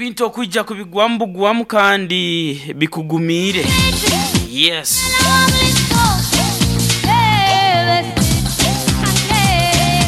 Ebintu okwija kubigwamu bugwamu kandi bikugumiire. Yes.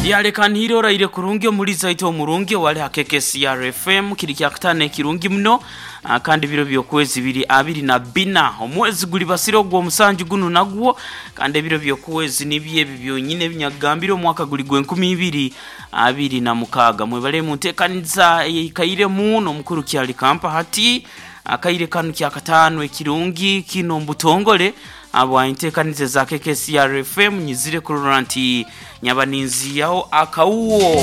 Lyaleka nhaire oraire kurungi omulizi aite omurungi owali ha KKCR FM kiri kyakutaano ekirungi muno ah, kandi biro by'okwezi biri 24 omwezi guli basire ogw'omusanju gunu nagwo kandi ebiro by'okwezi nibyo ebi byonyine ebinyakugambire omwaka guli gw'enkumi ibiri 26. Mwebale mu nteekaniza eyeikairemu n'omukuru Kyali Kampa hati akaire kanu kyakataano ekirungi kino omu butongole habwa enteekaniza eza KKCR FM nyizire kurora nti nyaba ninziihaho akawuwo.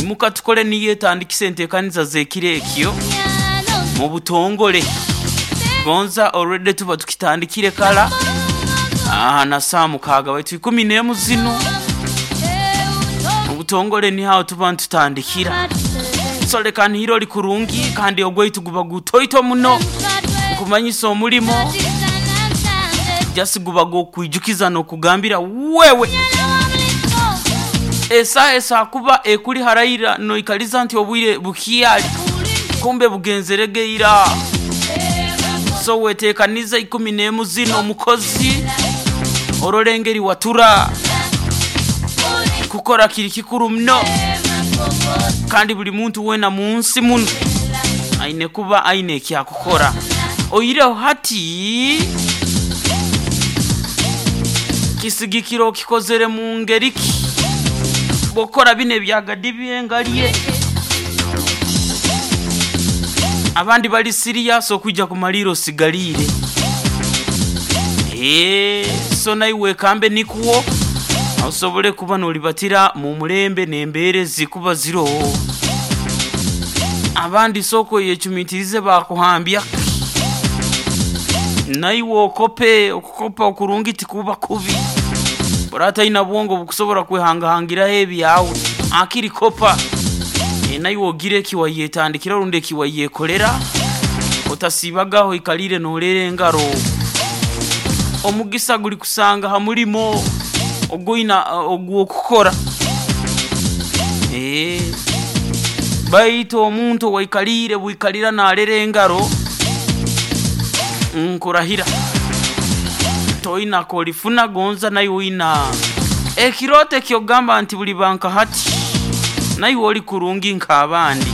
Imuka tukole niyo etandikisa enteekaniza z'ekiro ekyo mu butongole. Gonza already tuba tukitandikire kara aha na saaha mukaaga baitu ikumi n'emu zinu obutongole niho aho tuba nitutandikira. So leka nihire ori kurungi kandi ogwaitu guba gutoito muno nkumanyisa omurimo just guba gw'okwijukiza n'okugambira wewe esaaha esaha kuba ekuri haraira noikariza nti obwire bukyari kumbe bugenzere ge ira. So wetekanize 11 zino omukozi orole engeri watura. Kukora kiri kikuru muno kandi buri muntu weena munsi munu aine kuba aine eki akukora. Oihireho hati kisigikira okikozere mu ngeri ki. Bw'okukora binu ebya Gadi byengalye abandi bari siriyasi okwija kumariira osigariire. Eeh so naiwe wekambe nikwo osobole kuba noribatira mu murembe n'embeera ezirikuba ziroho. Abandi sooka oyecumitirize baakuhambya naiwe okope, okukopa okurungi tikuba kubi. Oraba otaine bwongo obukusobora kwehangahangiraho ebyawe, hakiri kopa naiwe ogire eki wayetandikira rundi eki wayekorera otasiibaga aho oikariire nooreera engaro. Omugisa gurikusanga aha murimo ogu oine ogw'okukora. Baitu omuntu owaikariire bwikarira naarera engaro, nkurahira toine akorifuna gonza naiwe oine ekirooto eki okugamba nti buriba nka hati naiwe ori kurungi nk'abandi.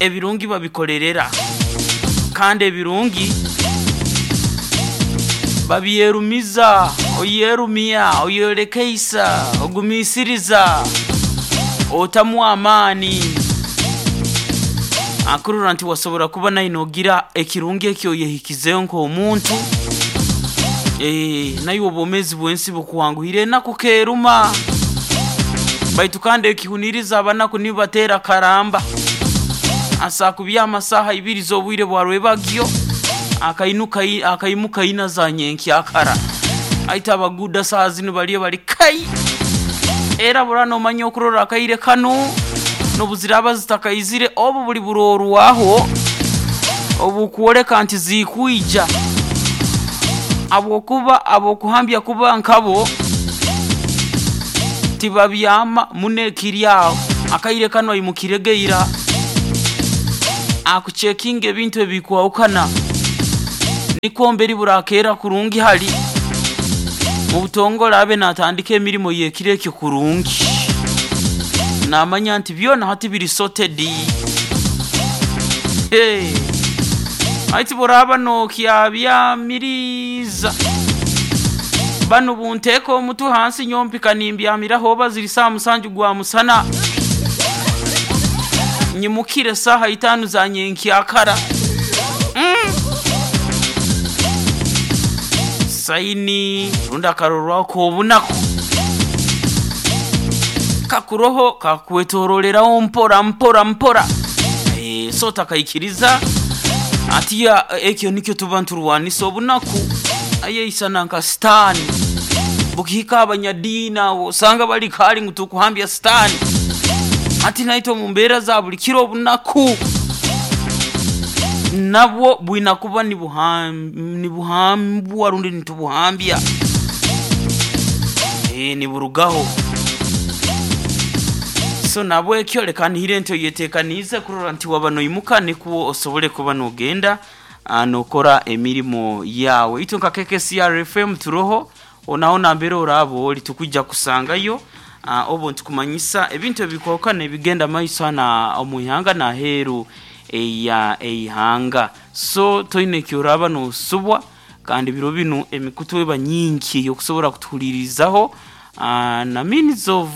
Ebirungi babikorerera kandi ebirungi babyerumiza, oyerumya, oyerekeisa, ogumiisiriza, otamu amaani. Akurora nti wasobora kuba naiwe nogira ekirungi eki oyehikizeho nk'omuntu, naiwe obwomeezi bw'ensi bukwanguhire enaku keruma. Baitu kandi ekihuniiriza abanaku nibo bateera karamba. Asaa kubyama saaha ibiri z'obwire bwa rwebagyo, akainuka akaimuka ina za nyenkyakara. Aita abaguuda saaha zinu bariyo bari kai! Era bura noomanya okurora akaire kanu n'obu ziraaba zitakaizire, obu buri buroorwaho obukworeka nti ziikwija. Ahabw'okuba ab'okuhambya kuba nkabo tibabyama muno ekiri aho. Akaire kanu aimukire ge ira akucekinga ebintu ebikwahukana nikwo mberi burakeera kurungi hari mu butongore abe natandika emirimo y'ekiro ekyo kurungi. Namanya nti byona hati biri sorted. Hey. Hati buraaba nokyabyamiriza banu bunteeka omutwe hansi nyowe mpika nimbyamiraho oba ziri saaha musanju gwa musana nyimukire saaha itaanu za nyenkyakara. Mm. Saini rundi akarorwaho k'obunaku kakuroho kakwetororeraho mpora mpora mpora. Eh, so otakaikiriza atiya ekyo nikyo tuba niturwanisa obunaku ayeisana nka sitaani bukihika abanyadiini abo osanga bari kare ngu tukuhambya sitaani hati naitwe omu mbeera za buri kiro obunaku nabwo bwine kuba nibuhambwa rundi nitubuhambya eh, niburugaho. So nahabwekyo leka nihire nti oyetekaniize kurora nti waba noimuka nikwo osobole kuba nogenda nokora emirimo yawe. Itwe nka KKCR FM turoho hoona nambere oraaba ori tukwija kusangayo obu nitukumanyisa ebintu ebikwoka nibigenda maiso hanu omu ihanga n'aheeru eya eihanga. So toine eki oraaba nosubwa kandi biro binu emikutu eba nyingi ey'okusobora kutuhuliirizaho na means of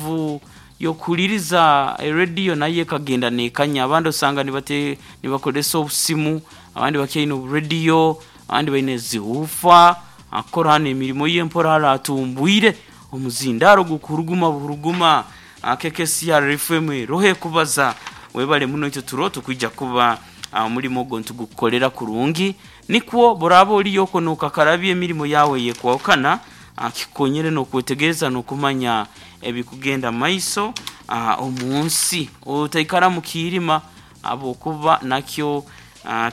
y'okuhuliiriza erediyo nayo ekagenda neekanya. Abandi osanga nibakozesa obusimu, abandi bakyaine oburediyo, abandi baine zi huufa, akukora hanu emirimo ye mpora hare atumbwire omuzindaaro gukuhuruguma buhuruguma. KKCR FM eroho ekubaza. Webale muno itwe turo tukwija kuba omurimo ogwo nitugukukorera kurungi nikwo bworaaba oriyo okwo nokakarabya emirimo yaawe eyekwahukana kikukonyere n'okwetegereza n'okumanya ebikugenda maiso omu nsi. Otaikara mu kiirima habwokuba nakyo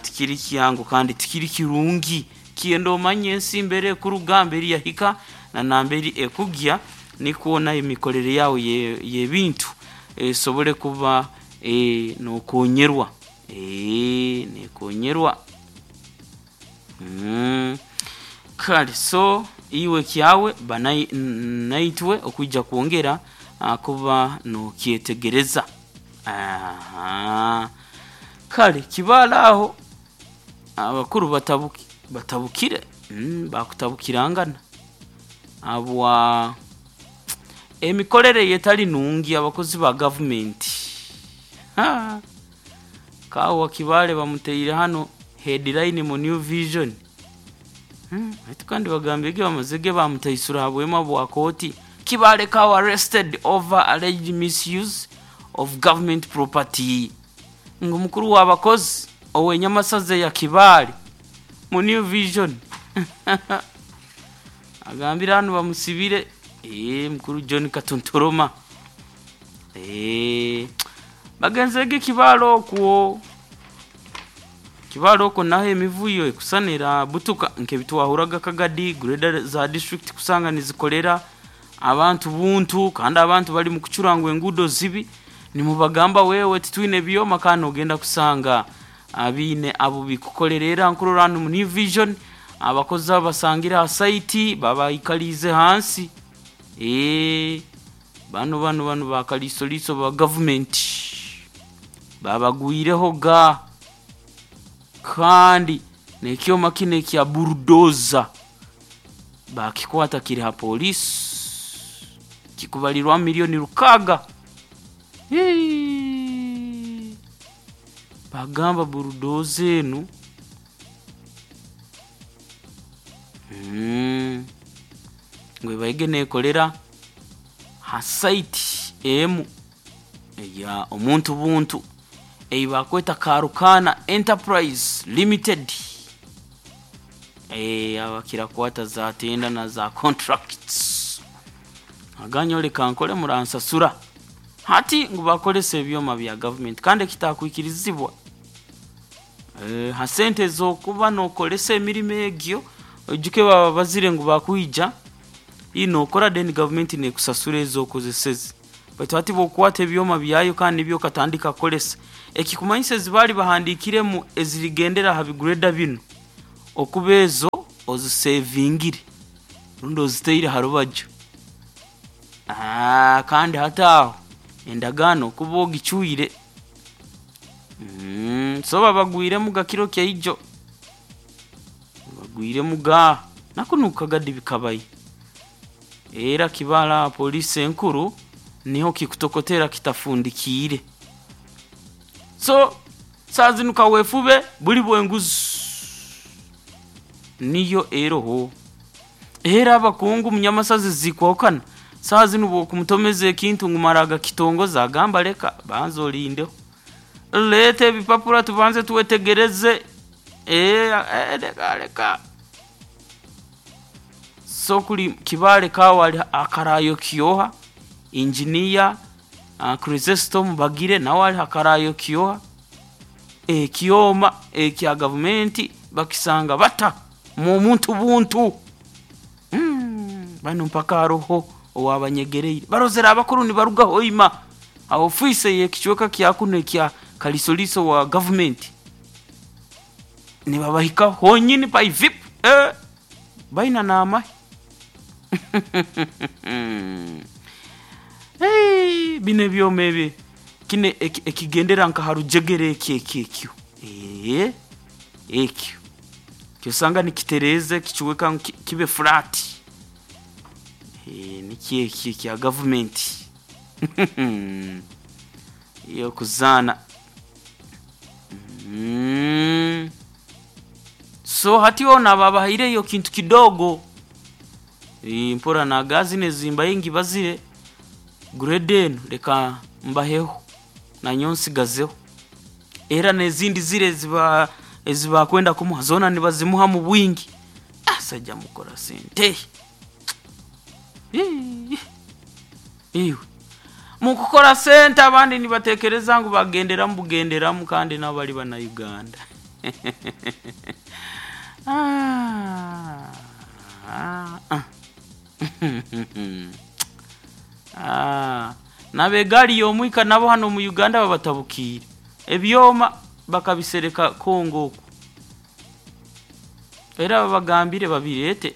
tikiri kyangu kandi tikiri kirungi. Kyenda omanye ensi mbere ekuruga, mbere yahika na nambere ekugya nikwo nayo emikorere yaawe y'ebintu esobole kuba nokonyerwa, nekonyerwa. Kale so iwe kyawe ba naitwe okwija kwongera kuba nokyetegereza. Kale Kibaale aho abakuru batabukire, bakutabukirangana habwa emikorere eyetali nungi abakozi ba gavumenti. Kaawa Kibaale bamuteire hanu headline mu New Vision. Baitu kandi bagambire bamazire bamutaisura ha bwema bwa kooti. Kibaale Kawa arrested over alleged misuse of government property. Ngu mukuru w'abakozi ow'enyamasaza eya Kibaale mu New Vision agambire hanu bamusibire mukuru John Katunturuma. Bagenzere Kibaale okwo. Kibaale okwo naho emivuyo ekusanira butuka nk'ebitwahuraga Kagadi, grader za district kusanga nizikorera abantu buntu kandi abantu bali mukucura ngu enguudo zibi nimubagamba wewe titwine byoma kandi nogenda kusanga biine abu bikukorera era nkurora hanu mu New Vision abakozi abo basangire ha site babaikaliize hansi. Banu banu banu bakaliisoliiso ba gavumenti babagwireho ga kandi n'ekyoma kinu ekya bulldozer bakikwata kiri ha poliisi kikubalirwamu milioni 6. Bagamba bulldozer enu ngu ebaire neekorera ha site emu eya omuntu buntu ei bakweta Karukaana Enterprise Limited. Abakira kukwata za tenda na za contracts. Aganye leka nkore muransasura. Hati ngu bakozesa ebyoma bya gavumenti kandi ekitakwikirizibwa. Ha sente ez'okuba nokozesa emirimo egyo oijuke baba bazire ngu bakwija nokora then gavumenti nekusasura ezokozeseze. Baitu hati bwokukwata ebyoma byayo kandi nibyo okatandika kukozesa ekikumanyisa ezi baali bahandiikiremu ezirigendera ha bigureda binu okuba ezo ozisevingire rundi ozitaire ha rubaju. Kandi hati aho endagaano okuba ogicwire. So babagwiremu ga kiro kyaijo, babagwiremu ga nakunu Kagadi bikabayo. Era Kibaale aha poliisi enkuru niho kikutokotera kitafundikiire. So saaha zinu kaweefube buli bw'enguzi niyo eroho. Era abakungu munyamasazi zikwahukana, saaha zinu bw'okumutomeza ekintu ngu mara agakitongoza agamba leka banza olindeho. Leeta ebipapura tubanze twetegereze, leka leka. So kuri Kibaale Kawa ali akarayo kyoha, engineer Chrysostom Bagire nawe ali hakarayo kyoha, ekyoma ekya gavumenti bakisanga bata mu muntu buntu. Banu mpaka haroho owabanyegereire. Barozere abakuru nibaruga Hoima. Ha ofiisi ey'ekicweka kya kunu ekya Kalisoliiso wa gavumenti nibabahikaho honyini by vip eh, baina n'amahe. Hey, bino ebyoma ebi kino ekigendera nka ha rujegere ekyo ekyo ekyo ee ekyo kyosanga nikitereeza ekicweka ngu kibe flat. Ee nikyo ekyo ekya gavumenti y'okuzaana. Mm. So hati ono ababahaireyo kintu kidogo. Ee, mpora nagazi nezimba ingi bazire grade eno leka mbaheho nanyowe nsigazeho. Era n'ezindi zire eziba ezibakwenda kumuha zoona nibazimuha mu bwingi. Ah, saija mukora sente. Ii, Iwe mukukora sente abandi nibatekereza ngu bagenderamu bugenderamu kandi nabo bali bana Uganda. Ah, ah. Ah, n'abegaali y'omwika nabo hano omu Uganda babatabukiire. Ebyoma bakabisereka Congo oku. Era babagambire babireete.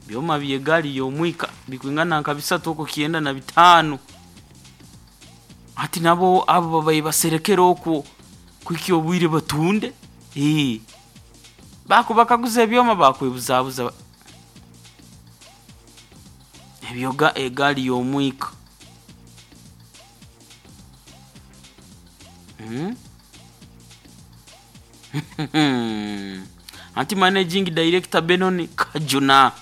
Byoma by'egaali y'omwika bikwingana nka bisatu okwo 95. Hati nabo abo babaire baserekere okwo kuhikya obwire batunde. Ee. Bakubakaguza ebyoma bakwebuzabuza. Ebyo egaali y'omwika. Mm? Anti managing director Benon Kajuna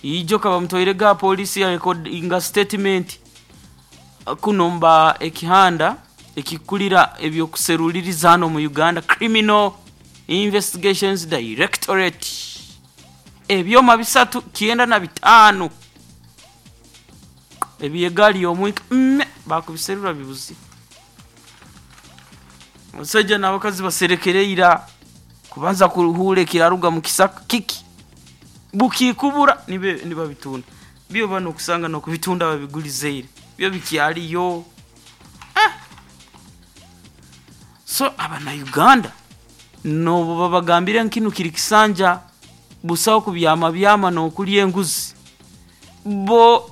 ijo kaba ga polisi ya recordinga statement kuno mba ekihanda ekikulira ebyokuseruliriza hano mu Uganda Criminal Investigations Directorate ebyoma 395 ebyegaali y'omwika mme bakubiserura bibuzi. Omusajja n'abakazi baserekere ira kubanza kuruhura ekiraruga mu kisaka kiki bukikubura nibe nibabitunda byo bano okusanga n'okubitunda babigulizeire byo bikyaliyo. Ah! So abana Uganda nobo babagambire nkinu kiri kisanja busaho kubyama byama n'okulya enguzi bo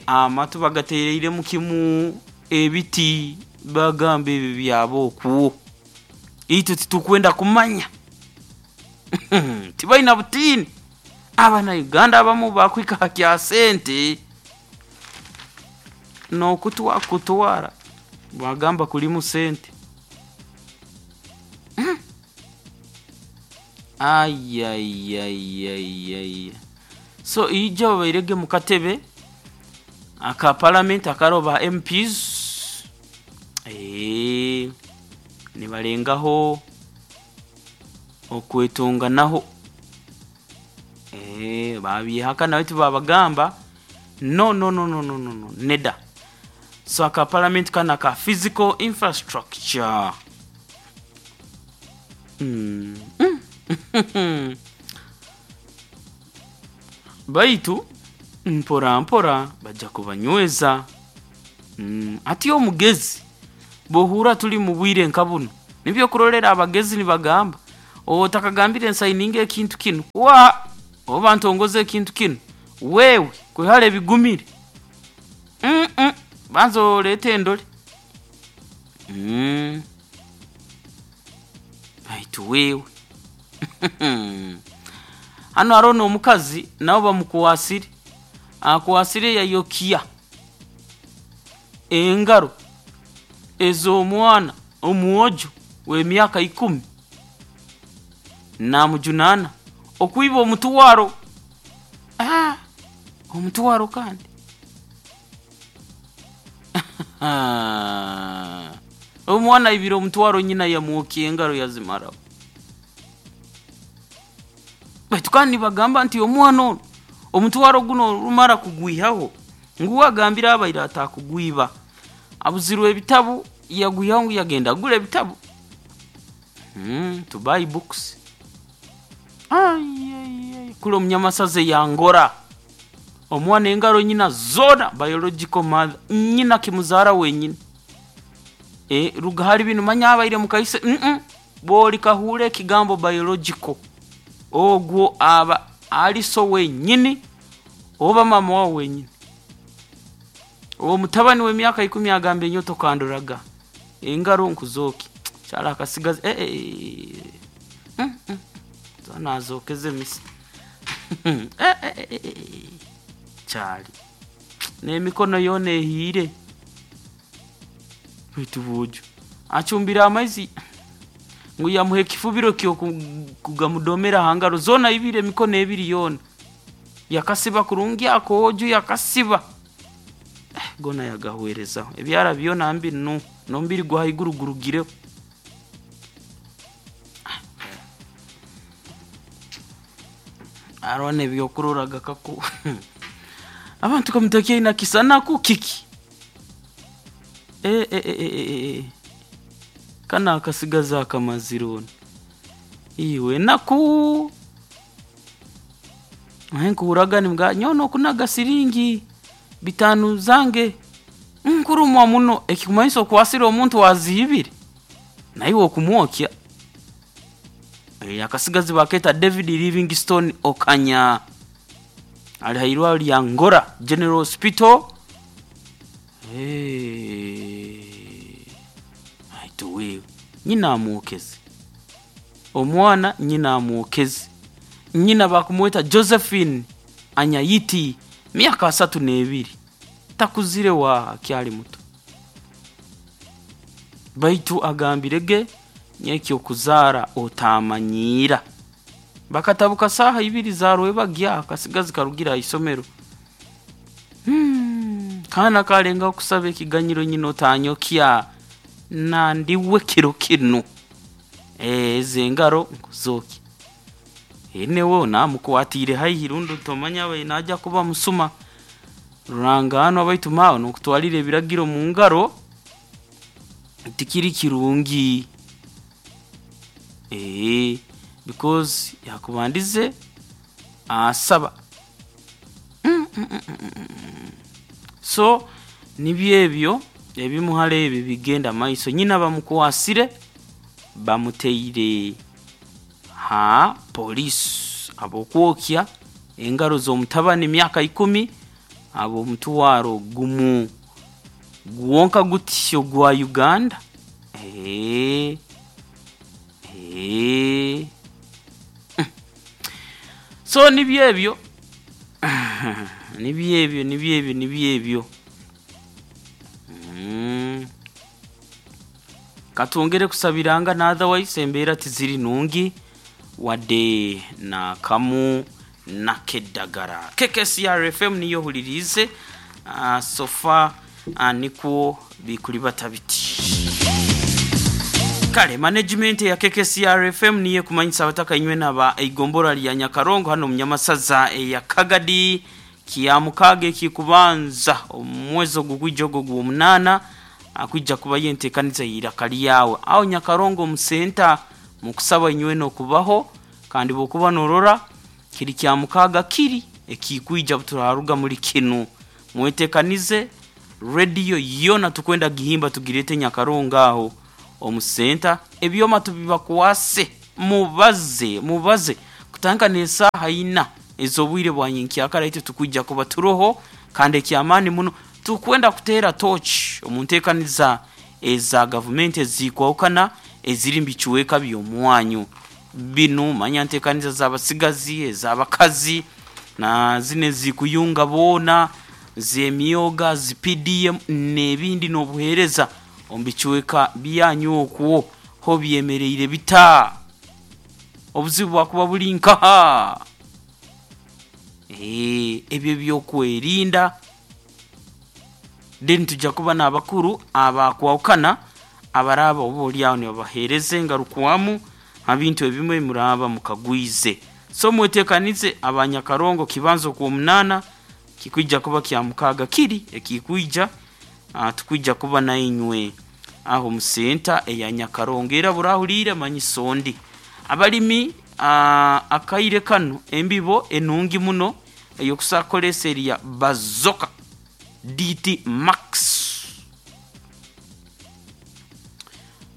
amatu bagatereiremu kimu ebiti bagamba ebi byabo okwo itwe titukwenda kumanya. Tibaina butiini. Abana Uganda abamu bakwika ha kya sente n'okutwa kutwara bagamba kulimu sente. Ayayayayaya. So ijo babairege mu katebe aka parliament akaroba MPs nibalengaho okwetonganaho babyehaka nawe tibabagamba no no no no no no no neda. So aka parliament kana ka physical infrastructure. Mm. Baitu mpora mpora bajja kubanyweza. Ati omugezi bohura tuli mu bwire nka buno nibyo kurolera abagezi nibagamba otakagambire nsayininga ekintu kino wa oba ntongoze ekintu kino wewe kwihale ebigumire banza olete endole. Baitu wewe hano hariho n'omukazi nabo bamukwasire akwasire yayokia engaro ez'omwana omwojo w'emyaka 10 namujunana okwiba omutwaro. Omutwaro kandi omwana ibira omutwaro nyina yamwokia engaro yazimaraho. Baitu kandi bagamba nti omwana ono omutwaro guno rumara kugwihaho ngu agambira abaire atakugwiba abuzirwe ebitabu yagwihaho ngu yagenda agura ebitabu to buy books. Ay, ay, ay. Kule omunyamasaze yangora Omwana engaro nyina zoona biological mother nyina kimuzaara wenyini. Eh, ruga hali binu manya abaire mukaise mm bw'olikahuura ekigambo biological ogwo aba ali so wenyini oba maama wawe wenyini. Omutabani w'emyaka ikumi agamba enyo tokandoraga engaro nkuzooki kyali akasigazi eh, eh, eh, mm, zoona azookeze emisi Eh, eh, eh, eh, kyali n'emikono yoona ehiire baitu bwojo acumbire amaizi ngu yamuha ekifubiro kyokugamudomera aha ngaro zoona ibiri emikono ebiri yoona yakasiba kurungi akoojo yakasiba. Eh, gona yagahwerezaho ebyara byona mbi nu n'omubiri gwa haiguru gurugireho. Hariho n'ebyokurora gakaku abantu kamutakiina kisanaku kiki Eh, eh, eh, eh, eh, eh. Kana akasigazi akamazire onu iwe naku ahe nkuhuraga nimbwa nyowe nokunaga siringi bitano zange nkurumwa muno ekikumanyisa okwasire omuntu waziibire naiwe okumwokya. Eh, akasigazi baketa David Livingstone Okanya ali hairwaro lya Ngora General Hospital. Eh, aitu wewe nyina amwokeze omwana nyina amwokeze nyina bakumweta Josephine Anyayiti myaka 32 takuzire wa akyali muto baitu agambire ge nyekyokuzaara otamanyiira bakatabuka saaha ibiri zarwebagya akasigazi karugira ahisomero. Kaana kalengaho kusaba ekiganyiro nyina otanyokya nandiwe kiro kinu. Eh, ezi engaro nkuzookya newe namukwatiire haihi rundi tomanya abaire naija kuba musuma ruranganwa baitu maawe nokutwarira ebiragiro mu ngaro tikiri kirungi. Eh, because yakubandize asaba. So nibyo ebyo ebimuhara ebi bigenda maiso nyina bamukwasire bamuteire ha poliisi habw'okwokya engaro z'omutabani myaka 10 habw'omutwaro gumu gwonka gutyo gwa Uganda. Eh, eh. So nibyo ebyo nibyo ebyo nibyo ebyo nibyo ebyo. Mm. Katwongere kusabirangana otherwise embeera tiziri nungi wadde nakamu nakeddagala. KKCR FM niyo ohuliriize uh, sofa uh, nikwo bikulibata biti. Kale management ya KKCR FM niyo ekumanyisa abataka inywe naba eigombora lya Nyakarongo hano munyamasaza eya Kagadi kya mukaaga ekikubanza omwezi ogugwijja ogwo gw'omunaana akwija kuba yenteekaniza y'eiraka lyawe aho Nyakarongo omu senta mukusaba inywe n'okubaho kandi bw'okuba norora kiri kya mukaaga kiri ekikwija turaruga muri kinu mwetekanize rediyo yoona tukwenda gihimba tugirete Nyakarongo aho omu senta ebyoma tubibakwase mubaze mubaze kutandika n'esaaha ina ez'obwire bwa nyenkyakara itwe tukwija kuba turoho kandi ekyamaani muno tukwenda kuteera torch omu nteekaniza eza gavumenti ezikwahukana eziri mu bicweka by'omwanyu binu manya nteekaniza z'abasigazi ez'abakazi na zinu ezikuyunga boona z'emyoga zi PDM n'ebindi n'obuheereza omu bicweka byanyu okwo ho byemereire bita obuzibu bwakuba buri nkaha. Eh, ebyo ebyokwerinda then tujja kuba n'abakuru abakwahukana abaraaba oba oli aho nibabaheereza engarukwamu ha bintu ebimwe muraaba mukagwize. So mwetekanize abanyakarongo kibanza okw'omunaana kikwija kuba kya mukaaga kiri ekikwija uh, tukwija kuba nainywe aho mu senta eya Nyakarongo era burahuliire manyisa ondi. Abalimi uh, akaire kanu embibo enungi muno Ey'okusa kukoresa eri ya Bazooka DT Max.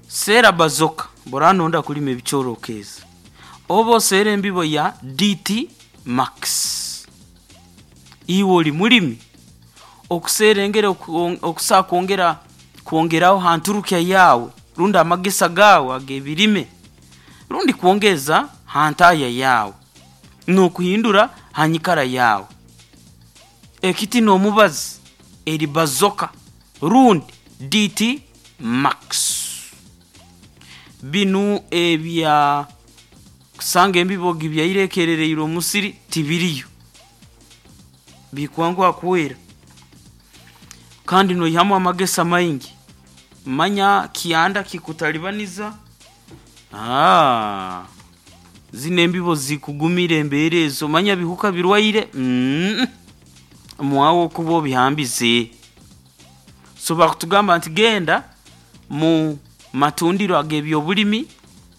Seera Bazooka bw'oraba noyenda kulima ebicoori okeeza, oba oseera embibo ya DT Max. Iwe ori mulimi, okuseera engeri okusa kwongera kwongeraho ha nturukya yaawe rundi amagesa gaawe ag'ebirime rundi kwongeza ha ntahya yaawe n'okuhindura ha nyikara yaawe. Ekiti n'omubazi eri Bazooka rundi DT Max. Binu ebya kusanga embibo gibyaire ekerereirwe omu musiri tibiriyo. Bikwanguha kwera kandi noihamu amagesa maingi. Manya kyanda kikutalibaniza, haa zinu embibo zikugumira embeera ezo manya bihuka birwaire mm mwawe okuba obihambize. So bakutugamba nti genda mu matundiro ag'ebyobulimi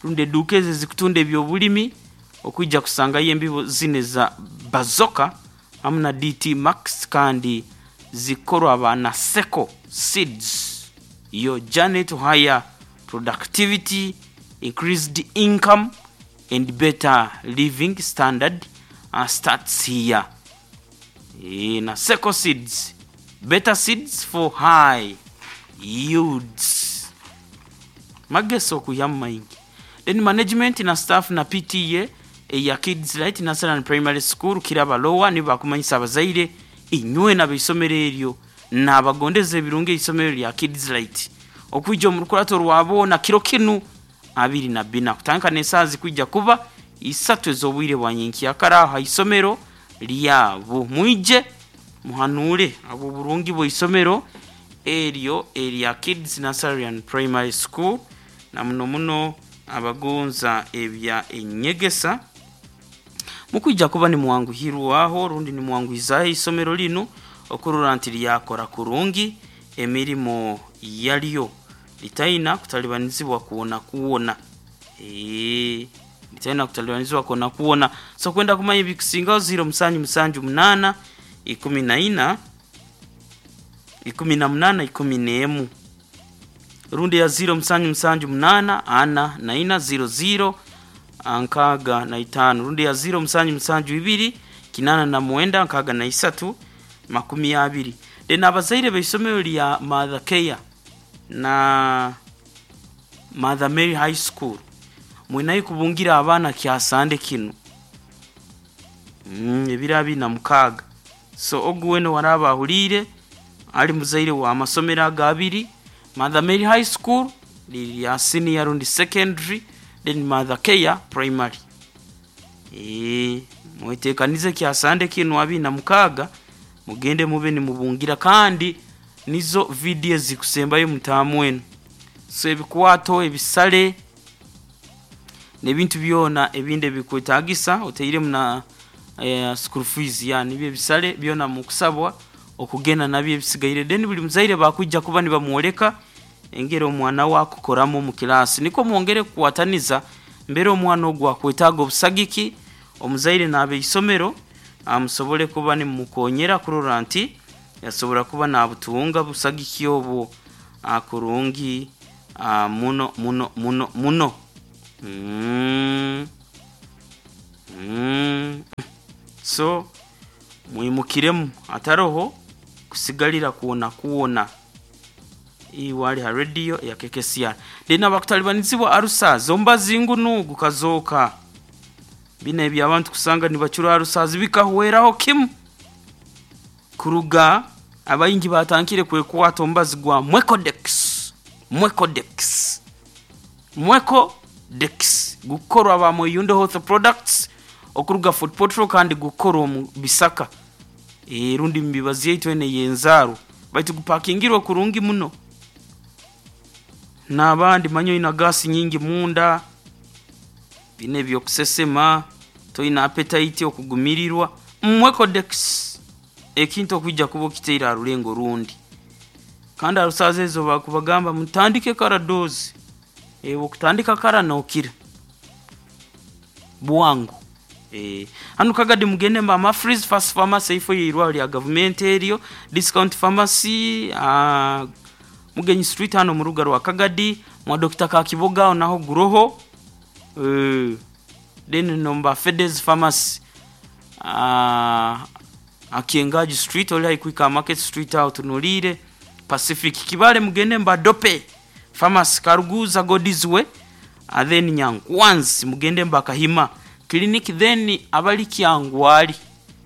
rundi eduuka ezo ezikutunda ebyobulimi okwija kusangayo embibo zinu eza Bazooka hamu na DT Max kandi zikukorwa aba Naseko Seeds. Your journey to higher productivity, increased income and better living standard starts here. Eeh Naseko Seeds, better seeds for high yields. Magesi okwihamu maingi. Then management na staff na PTA eya Kids Light Nursery and Primary School Kiraba Lower nibo bakumanyisa abazaire inywena abeisomero eryo nabagondeza ebirungi eisomero erya Kids Light okwija omu rukurato rwa boona kiro kinu 24 kutandika n'esaaha zikwija kuba isatu ez'obwire bwa nyenkyakara aho ha isomero lyabo. Mwije muhanuure habw'oburungi bw'eisomero eryo erya Kids Nursery and Primary School na muno muno abagonza ebya enyegesa. Mukwija kuba nimwanguhirwaho rundi nimwanguhizaaho eisomero linu okurora nti lyakora kurungi emirimo yaryo litaina kutalibanizibwa kwona kwona. Eeh litaina kutalibanizibwa kwona kwona. So kwenda kumanya ebikusingaho 0778 14 18 11 rundi eya 0778 44 00 65 rundi eya 0772 89 63 20. Then abazaire b'eisomero lya Mother Care na Mother Mary High School mwinayo kubungira abaana kyasande kinu ebiro 26. So ogu weena owaraaba ahuliire ali muzaire w'amasomero ago abiri, Mother Mary High School liri lya senior rundi secondary, then Mother Care primary. Eeh mwetekanize kyasande kinu 26 mugende mube nimubungira kandi nizo vidiyo ezikusembayo mutaamu enu. So ebikwato, ebisale n'ebintu byona ebindi ebikwetagisa otairemu na school fees ya nibyo ebisale byona mukusabwa okugenda nabyo ebisigaire. Then buli muzaire bakwija kuba nibamwoleka engeri omwana we akukoramu omu kilaasi nikwo mwongere kukwataniza mbere omwana ogu akwetaaga obusagiki omuzaire n'abeisomero musobole kuba nimumukonyera kurora nti yasobora kuba nabutunga busagiki obwo kurungi muno muno muno muno. So mwimukiremu hataroho kusigalira kwona kwona. Iwe ali ha rediyo eya KKCR. Then abakutalibanizibwa arusazi omubazi ngunu gukazooka. Binu eby'abantu kusanga nibacura arusazi bikahweraho kimu. Kuruga abaingi baatandikire kwekwata omubazi gwa Mwecodex, Mwecodex, Mwecodex gukukorwa aba Mweyunde Health Products okuruga Fort Portal kandi gukukorwa omu bisaka rundi omu mibazi yaitu enu ey'enzaarwa baitu gupakingirwe kurungi muno. N'abandi manya oina gaasi nyingi munda, binu eby'okusesema, toine appetite, okugumirirwa, Mwecodex ekintu okwija kuba okitaire ha rulengo rundi. Kandi arusazi ezo bakubagamba mutandike kara doozi, okutandika kara nookira bwangu. Eh, hanu Kagadi mugende mba Mafreeze First Pharmacy eifo yeirwaro lya gavumenti eryo, Discount Pharmacy, ah, Mugenyi Street hano mu rubuga rwa Kagadi, mwa Dokita Kakiboga aho naho guroho. Eh, then nomba Fedes Pharmacy. Ah, Akiengaji Street oli haihi kuhika Market Street aho tunuliire Pacific Kibale mugende mba Dope Pharmacy Karuguza Godizwe and then Nyankwanzi mugende mba Kahima Clinic then abali Kyangwali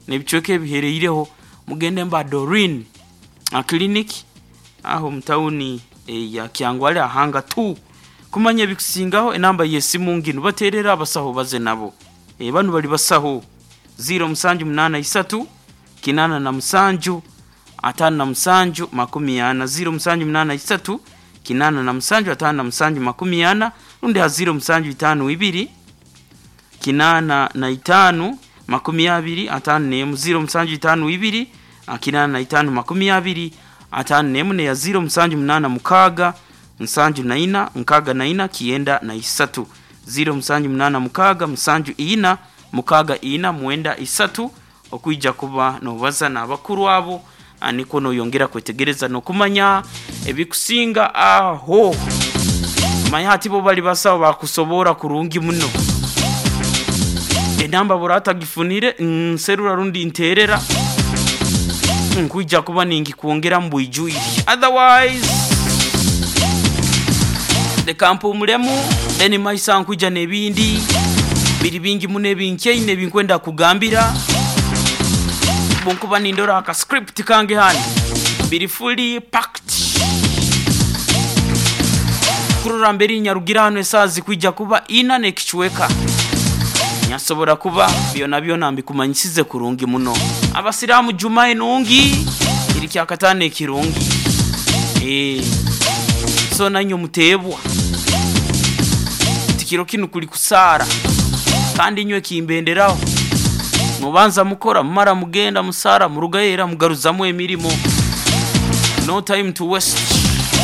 n'ebicweka ebihereireho mugende mba Doreen a clinic aho mu tawuni ya Kyangwali ahanga 2 kumanya ebikusingaho enamba y'esimu nginu baterera abasaho baze nabo e, banu bali basaho 0783 87 57 40 0783 87 57 40 rundi ha 0752 85 20 51 0752 85 20 51 neya 0786 74 64 93 0786 74 64 93 okwija kuba nobaza n'abakuru abo niko noyongera kwetegereza nokumanya ebikusinga aho manya hati bo bali basawo bakusobora kurungi muno enamba buratagifunire nserura rundi nterera nkwija kuba ningikwongera mbwijwire otherwise reka mpumulemu then maisa nkwija n'ebindi biri bingi muno ebinkeine ebinkwenda kugambira bunkuba nindora aka script kange hano biri fully packed kurora mbere nyarugira hano esaha zikwija kuba ina n'ekicweka nyasobora kuba byona byona mbikumanyisize kurungi muno abasiramu juma enungi iri kyakatano ekirungi eh so nanyo muteebwa tikiro kinu kuli kusaara kandi inywe kimbenderaho mubanza mukora mumara mugenda musaara murugayo era mugaruzamu emirimo no time to waste.